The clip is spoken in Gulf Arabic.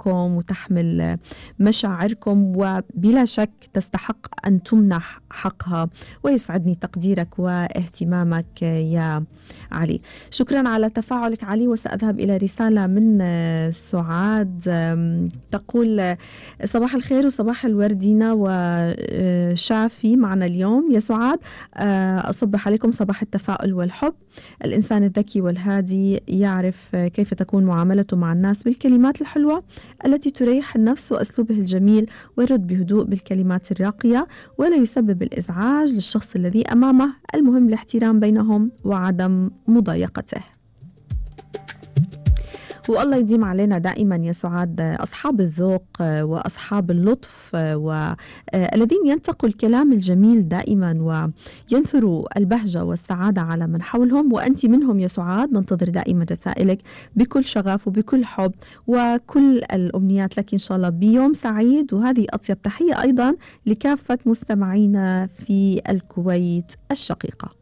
قلوبكم وتحمل مشاعركم، وبلا شك تستحق أن تمنح حقها. ويسعدني تقديرك واهتمامك يا علي. شكرا على تفاعلك علي. وسأذهب إلى رسالة من سعاد تقول: صباح الخير وصباح الوردينا وشافي معنا اليوم يا سعاد. أصبح عليكم صباح التفاؤل والحب. الإنسان الذكي والهادي يعرف كيف تكون معاملته مع الناس بالكلمات الحلوة التي تريح النفس وأسلوبه الجميل، ويرد بهدوء بالكلمات الراقية ولا يسبب الإزعاج للشخص الذي أمامه. المهم الاحترام بينهم وعدم مضايقته. والله يديم علينا دائما يا سعاد أصحاب الذوق وأصحاب اللطف والذين ينتقوا الكلام الجميل دائما وينثروا البهجة والسعادة على من حولهم، وأنت منهم يا سعاد. ننتظر دائما رسائلك بكل شغف وبكل حب، وكل الأمنيات لك إن شاء الله بيوم سعيد. وهذه أطيب تحية أيضا لكافة مستمعينا في الكويت الشقيقة.